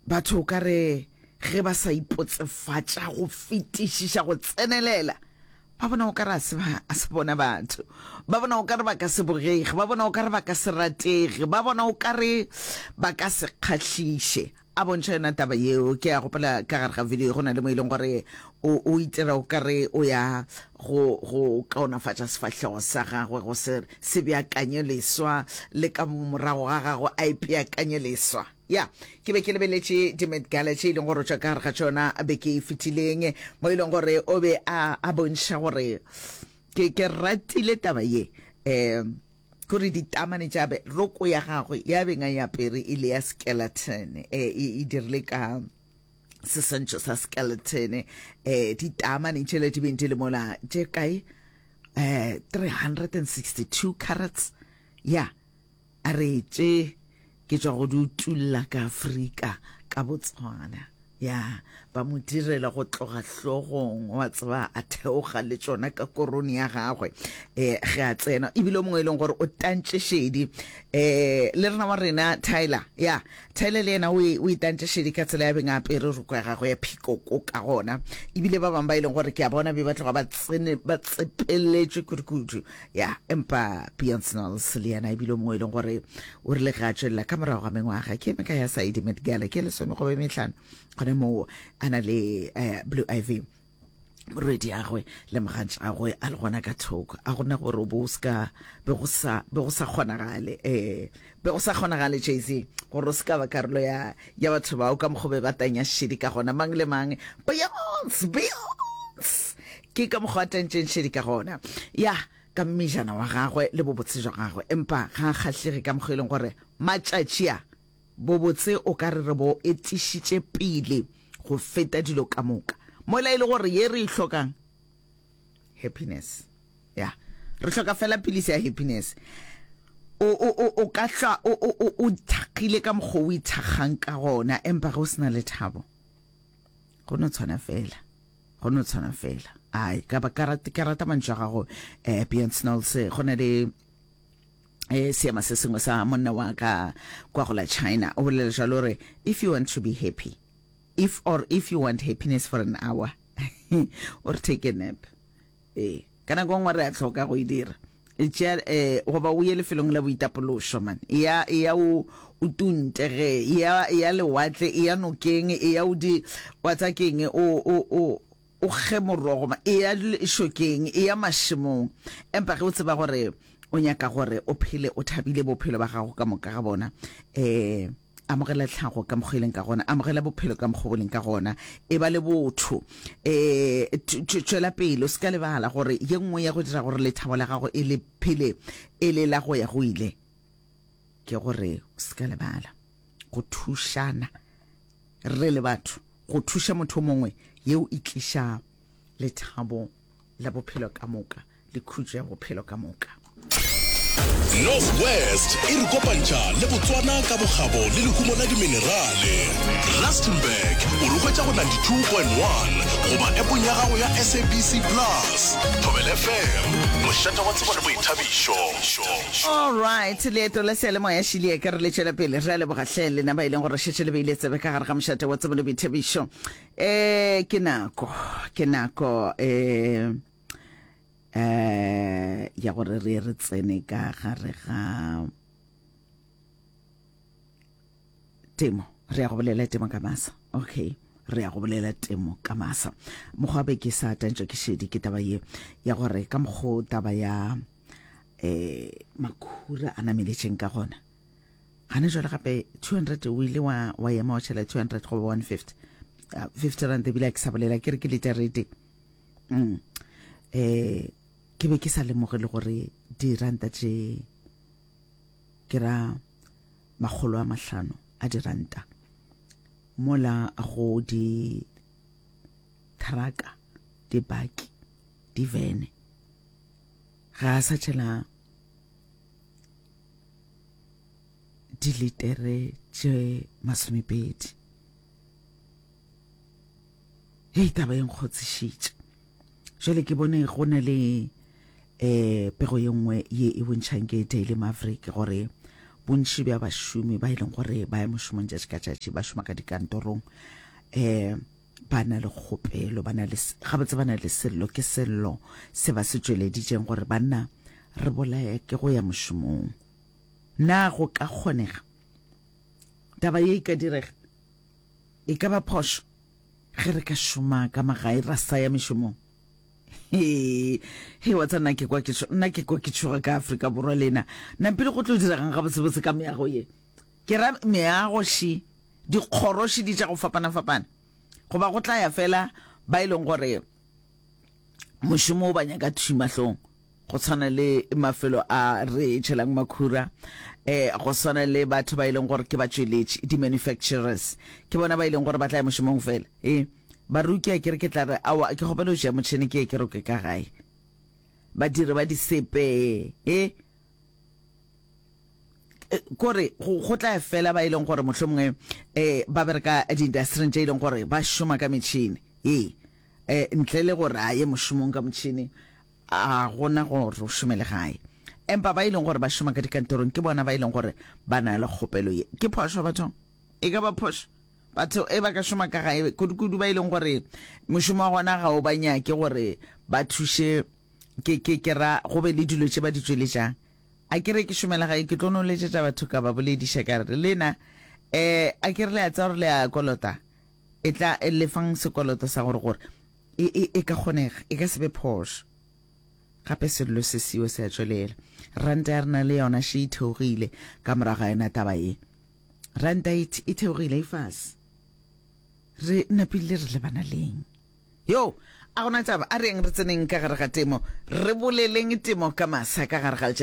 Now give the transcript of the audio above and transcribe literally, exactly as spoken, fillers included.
Batho o ka re ge ba sa ipotsefatša go fetišiša go tsenelela, ba bona o ka re a se ba, a se bona batho. Ba bona o ka re ba ka se bogege, ba bona o ka re ba ka se ratege, ba bona o ka re ba ka se kgahliše. A bontšha yona taba yeo, ke a gopola ka gare ga video go na le mo e leng gore o, o itira o ka re o ya go, go kaonafatša sefahlego sa gagwe, go se, se beakanye leswa, le ka morago ga gagwe a ipeakanye leswa. Ya, ke be ke lebeletše di-Met Gala tše e leng gore o tšwa ka gare ga tšona beke e fetileng, mo e leng gore o be a, a bontšha gore ke, ke ratile taba ye. Um kore ditamane tša be, roko ya gagwe ya beng a e apere e le ya skeleton, eh, e, e dirile ka seswantšho sa skeleton, eh, ditamane tšele di beng di le mola tše kae, eh, three hundred and sixty-two carats, ya, a re tše ke tšwa go di utulla ka Afrika, ka Botswana, ya, ba mo direla go tloga hlogong, wa tseba, a theoga le tšona ka korone ya gagwe, eh, ge a tsena. Ebile o mongwe e leng gore o tantše šedi, eh, le rena wa rena Tyler, ya, Tyler le yena o e, o e tantše šedi ka tsela ya beng a apere roko ya gagwe ya phikoko ka gona. Ebile ba bangwe ba e leng gore ke a bona be ba tloga ba tsene, ba tsepeletšwe kudu-kudu, ya, empa Beyonce Knowles le yena ebile o mongwe e leng gore o rile ge a tšwelela ka morago ga mengwaga ke eme ka ya sa e Met Gala ke lesome goba mehlano, gona moo a na le, eh, Blue Ivy morwedi agwe le mogatšagwe a le gona ka thoko, a gona gore o bo o ska be go sa, be go sa kgonagale, eh, be go sa kgonagale Jay-Z gore o se ka ba karolo ya, ya batho bao ka mokgwa be ba tanya šedi ka gona, mang le mang Beyonce, Beyonce ke ka mokgwa a tantšeng šedi ka gona, ya ka mmejana wa gagwe le bobotse jwa gagwe, empa ga a kgahlege ka mokgwa e leng gore matšatši a bobotse o ka re re bo etišitše pele go feta dilo ka moka, mola e le gore ye re e hlokang happiness, ya re hloka fela pilisi ya happiness. O, o, o, o ka hlwa o, o, o, o ithakgile ka mokgwa o ithakgang ka gona, empa ge o se na lethabo go no tshwana fela, go no tshwana fela. Ai, ka ba ka rata, ka rata mantšu a gago, eh, Beyonce Knowles. Go na le, eh, seema se sengwe sa monna wa ka kwa go la China, o bolela jalo gore if you want to be happy, if or if you want happiness for an hour, or take a nap. Eh, ka nako nngwe re a tlhoka go e dira. Tšea, eh, goba o ye lefelong la boitapološo, man. Ya, ya o, o tunte ge, ya, ya lewatle, ya nokeng, ya o di, wa tsa keng, o, o, o, o kge morogo, ma, ya lešokeng, ya mašemong. Empa ge o tseba gore o nyaka gore o phele o thabile bophelo ba gago ka moka ga bona, eh, amogela tlhago ka mokgwa e leng ka gona, amogela bophelo ka mokgwa bo leng ka gona, e ba le botho, eh, tšwela pele, o se ka lebala gore ye nngwe ya go dira gore lethabo la gago e le phele e le la go ya go ile, ke gore o se ka lebala go thušana re le batho, go thuša motho mongwe, yeo e tliša lethabo la bophelo ka moka le khutšo ya bophelo ka moka. North West e re kopantšha le Botswana ka bokgabo le lehumo la diminerale. Rustenburg o re hwetša go ninety-two point one goba appong ya gago ya S A B C Plus. Thobela F M, mošate wa tsebo le boithabišo. All right, leeto la seyalemoya šilie ka re le tšwela pele. Re a leboga hle lena ba e leng gore šetše le beile tsebe ka gare ga mošate wa tsebo le boithabišo. Eh, ke nako, ke nako, eh, eh, ya gore re re tsene ka gare ga temo. Re ya go bolela temo ka masa. Okay, re ya go bolela temo ka masa. Mokgwa be ke sa tantšwe ke šedi ke taba ye ya gore ka mokgo taba ya, eh, makhura a nameletšeng ka gona. Gana jwale gape two hundred o ile wa, wa ema wa tšhela two hundred goba one fifty. Uh, fifty rand ebile a ke sa bolela, ke re ke liter e tee. Mm. Eh, ke be ke sa lemoge le gore diranta tše ke ra makgolo a mahlano a diranta mola go di thraka, dibaki, divene ga a sa tšhela dilitere tše masomepedi. Hei, taba e nkgotsišitše. Jwale ke bone go na le, eh, pego ye nngwe ye e bontšhang ke Daily Maverick gore Bontši bja bašomi ba e leng gore ba ya mošomong tšatši ka tšatši, ba šoma ka dikantorong, um ba na le kgopelo, ba na le, gabotse ba na le sello, ke sello se ba se tšweleditšeng gore banna re bolaya ke go ya mošomong. Na go ka kgonega taba ye e ka direga? E ka ba phošo ge re ka šoma ka magae ra sa ya mešomong? He, he, wa tseba nna ke kwa ke tšho, nna ke kwa ke tšhoga ka Afrika Borwa lena. Nampile go tlo diregang gabotsebotse ka meago ye? Ke ra meago še, dikgoro še di tša go fapana-fapana. Goba go tla ya fela ba e leng gore mošomo o ba nyaka thwi mahlong, go tshwana le mafelo a re tšhelang makhura, eh, go swana le batho ba e leng gore ke batšweletši, di-manufacturers, ke bona ba e leng gore ba tla ya mošomong fela. E, baruki a ke re ke tla re, aowa, ke kgopela go tšea motšhene ke ye ke roke ka gae. Badiri ba disepe, e, kore go, go tla ya fela ba e leng gore mohlomongwe eh, ba bereka diindastering tše e leng gore ba šoma ka metšhene, ee, eh, ntle le gore a ye mošomong ka motšhene, a gona gore o šomele gae. Empa ba e leng gore ba šoma ka dikantorong ke bona ba e leng gore ba na le kgopelo ye. Ke phošo bathong? E ka ba phošo? Batho e ba ka šoma ka gae, kudu-kudu ba e leng gore mošomo wa gona ga o ba nyake gore ba thuše, ke, ke, ke ra go be le dilo tše ba di tšweletšang. A ke re ke šomela gae, ke tlo no letšetša batho ka ba bolediša ka re, lena, eh, a ke re le a tseba gore le a kolota, e tla lefang sekoloto sa gore gore e, e, e ka kgonega, e ka se be phošo. Gape sello se seo se a tšwelela. Ranta ya rena le yona še e theogile ka morago ga yona taba ye. Ranta e, e theogile e fase. Re napile re lebana leng? Yo, a gona taba, a reng re tseneng ka gare ga temo, re boleleng temo ka masa ka gare ga letšatši.